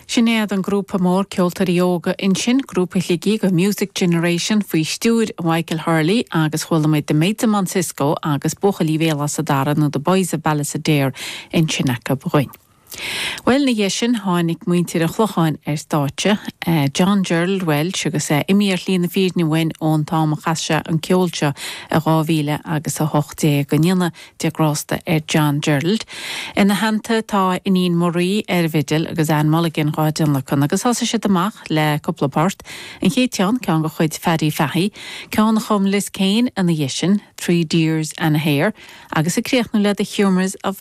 Sin iad an grúpa mór ceoltóirí óga ansin, grúpa Shligigh, an Music Generation, faoi stiúir Mhichael Hurley agus chuala muid The Maids of Monsisco agus Buachaillí Bhéal Átha Dara nó The Boys of Ballysadare ansin acu dhúinn. Bhuel, ina dhiaidh sin tháinig muintir an Chlocháin ar stáitse, John Gerald Walsh agus é imithe ar shlí na fírinne uainn ón t-am a chas sé an ceol seo i 2000 agus 18. Go ndéana Dia grásta ar John Gerald. Ina theannta tá a iníon Marie ar an bhfidil agus Anne Mulligan dhá dtionlacan agus thosaigh siad amach le cúpla port, an chéad cheann, ceann de chuid Phaddy Fahey, ceann a chum Liz Kane ina dhiaidh sin, Three Deers and a Hare, agus ag críochnú le The Humours of.